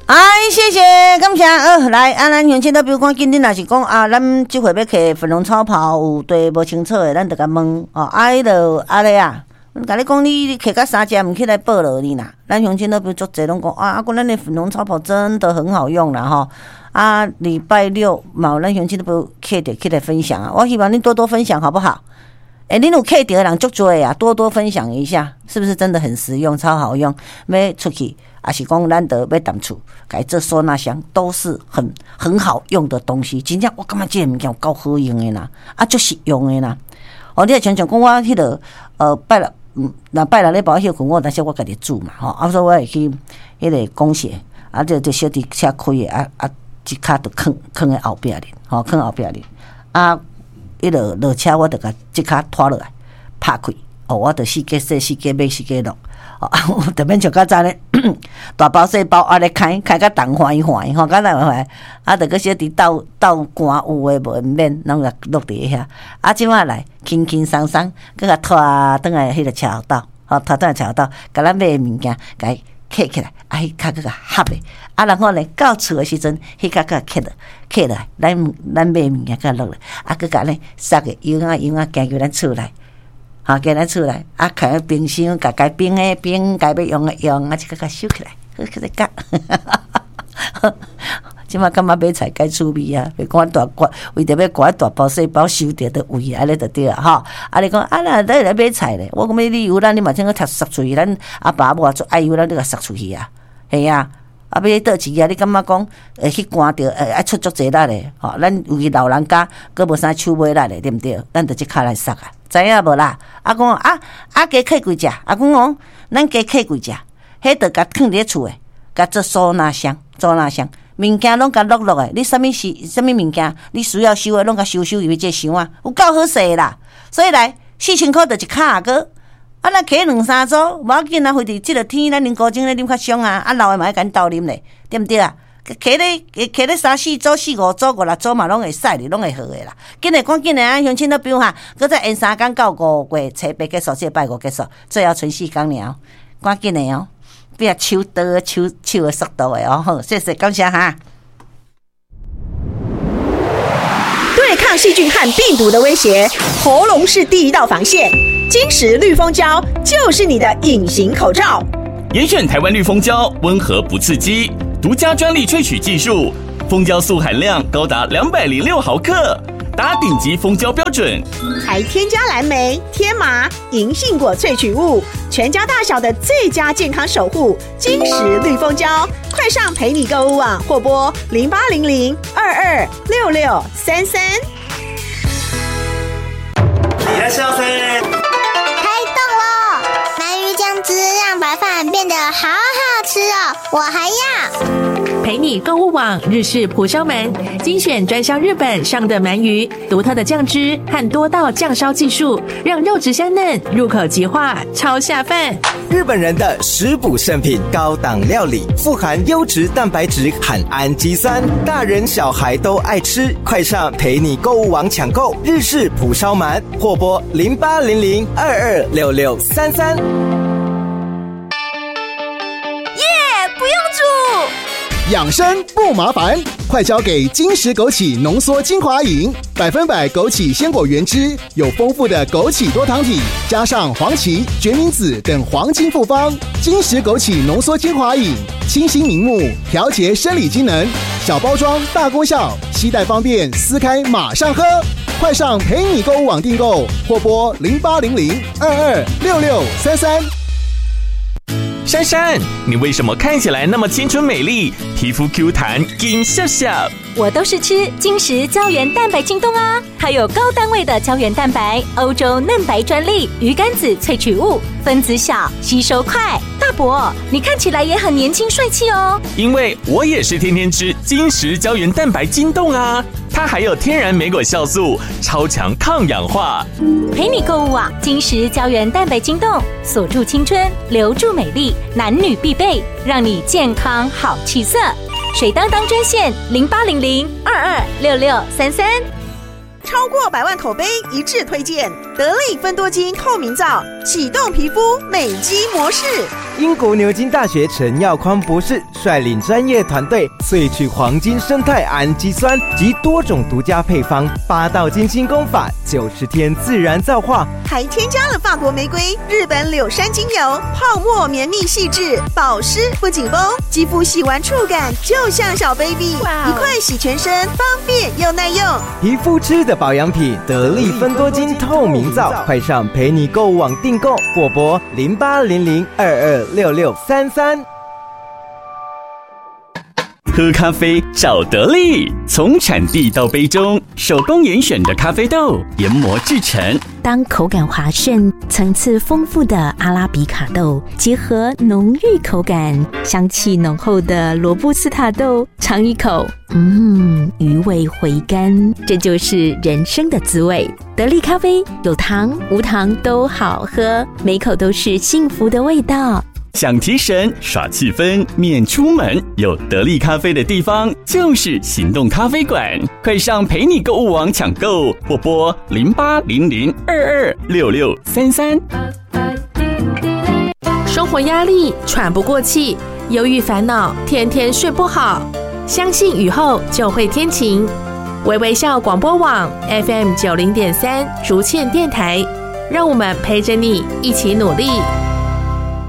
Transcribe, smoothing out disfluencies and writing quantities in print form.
哎，謝謝，感謝。來，啊，咱鄉親都比如講，今日若是講啊，咱這回欲揢粉龍超跑有對無清楚的，咱就共問哦。啊，彼落按呢啊，共你講，你揢甲三隻毋起來報落你啦。咱鄉親都比如足濟攏講啊，啊，講咱的粉龍超跑真的很好用啦吼。啊，禮拜六嘛有咱鄉親都比如揢著起來分享啊。我希望恁多多分享，好不好？欸，恁有揢著的人足濟啊，多多分享一下，是不是真的很實用，超好用？欲出去，抑是講咱著欲踮厝，共伊做收納箱，都是很好用的東西。真正我感覺這个物件有夠好用的啦，啊，足實用的啦。哦，你若像像講我彼落，拜六，若拜六禮拜我歇睏，我有當時我家己煮嘛，吼，啊，所以我會去彼个公社，啊，這小弟車開的，啊啊，一跤就囥囥佇後壁咧，吼，囥後壁咧，啊，彼落落車我就共這跤拖落來，拍開，哦，我就四界洗，四界買，四界落。哦，特免像較早咧，大包細包按呢開，開甲重橫橫吼，較難橫，啊，著閣小弟鬥鬥寒有的無的毋免，攏共落佇遐。啊，這擺來輕輕鬆鬆，閣共拖轉來彼个車後斗，吼，拖轉來車後斗，共咱買的物件共伊揢起來，啊，彼跤閣共合咧，啊，然後呢，到厝的時陣，彼跤閣共揢落，揢落來，咱買的物件閣落來，啊，閣共呢捒个樣仔樣仔行入咱厝內。吼，行咱厝內，啊，開冰箱，共該冰的冰，該欲用的用，啊，這個共收起來，好去咧夾。這擺感覺買菜較趣味啊，袂管大掛，為著欲掛大包細包收著就位按呢就對啊，吼。啊，你講啊，若你來買菜咧，我講欲你有咱你嘛先閣捒出去，咱阿爸阿母也足愛有咱你共捒出去啊，嘿啊。啊，欲佗一个，你感覺講會去寒著，會愛出足濟力的，吼。咱尤其老人家，閣無啥手尾力的，對毋對？咱就這跤來捒啊，知影無啦？啊，講啊啊，加揢幾隻，啊，講哦，咱加揢幾隻，彼就共囥佇咧厝的，共做收納箱，收納箱，物件攏共落落的，你啥物是啥物物件，你需要收的，攏共收收入去這箱啊，有夠好勢的啦。所以來4000箍就一跤閣。啊，若揢兩三組，無要緊啊。非佇這个天，咱啉高精咧啉較傷啊。啊，老的嘛愛共鬥啉咧，對毋對啊？揢咧揢咧三四組、四五組、五六組嘛，攏會使咧，攏會好的啦。緊來趕緊的啊，鄉親都比如哈，閣再延三工到5月初八結束，這個拜五結束，最後賰四工爾，趕緊的哦，變手刀手手的速度的哦。好，謝謝，感謝哈。對抗細菌和病毒的威脅，喉嚨是第一道防線。金石綠蜂膠就是你的隱形口罩。嚴選台灣綠蜂膠，溫和不刺激，獨家專利萃取技術，蜂膠素含量高達206毫克，達頂級蜂膠標準。還添加藍莓、天麻、銀杏果萃取物，全家大小的最佳健康守護。金石綠蜂膠，快上陪你購物網或撥0800226633。いらっしゃいませ。開動囉！鰻魚醬汁讓白飯變得好好吃哦，我還要。陪你購物網日式蒲燒鰻，精選專銷日本上等鰻魚，獨特的醬汁和多道醬燒技術，讓肉質鮮嫩，入口即化，超下飯。日本人的食補聖品，高檔料理，富含優質蛋白質和氨基酸，大人小孩都愛吃。快上陪你購物網搶購日式蒲燒鰻，或撥0800226633。耶，不用煮。養生不麻煩，快交給金石枸杞濃縮精華飲，100%枸杞鮮果原汁，有豐富的枸杞多糖體，加上黃芪、決明子等黃金複方，金石枸杞濃縮精華飲，清新明目，調節生理機能，小包裝大功效，攜帶方便，撕開馬上喝，快上陪你購物網訂購或撥0800226633。珊珊，你為什麼看起來那麼青春美麗，皮膚 Q 彈，金笑笑？我都是吃金石膠原蛋白精凍啊，還有高單位的膠原蛋白，歐洲嫩白專利魚肝子萃取物，分子小，吸收快。大伯，你看起來也很年輕帥氣哦。因為我也是天天吃金石膠原蛋白精凍啊，它還有天然莓果酵素，超強抗氧化。陪你購物啊，金石膠原蛋白精凍，鎖住青春，留住美麗，男女必備，讓你健康好氣色。水當當專線0800226633，超過百萬口碑一致推薦，得力芬多精透明皂，启动皮肤美肌模式。英国牛津大学陈耀匡博士率领专业团队萃取黄金胜肽氨基酸及多种独家配方，八道精心工法，90天自然皂化，还添加了法国玫瑰、日本柳杉精油，泡沫绵密细致，保湿不紧绷，肌肤洗完触感就像小 baby，一块洗全身，方便又耐用。皮肤吃的保养品，得力芬多精透明皂，快上陪你购物网订购，或拨0800226633。喝咖啡找得力，从产地到杯中，手工严选的咖啡豆研磨制成。当口感滑顺、层次丰富的阿拉比卡豆结合浓郁口感、香气浓厚的罗布斯塔豆，尝一口，余味回甘，这就是人生的滋味。得力咖啡有糖无糖都好喝，每口都是幸福的味道。想提神、耍气氛、免出门，有得力咖啡的地方就是行动咖啡馆。快上陪你购物网抢购，或拨0800226633。生活压力喘不过气，忧郁烦恼天天睡不好。相信雨后就会天晴。微微笑广播网 FM 90.3竹堑电台，让我们陪着你一起努力。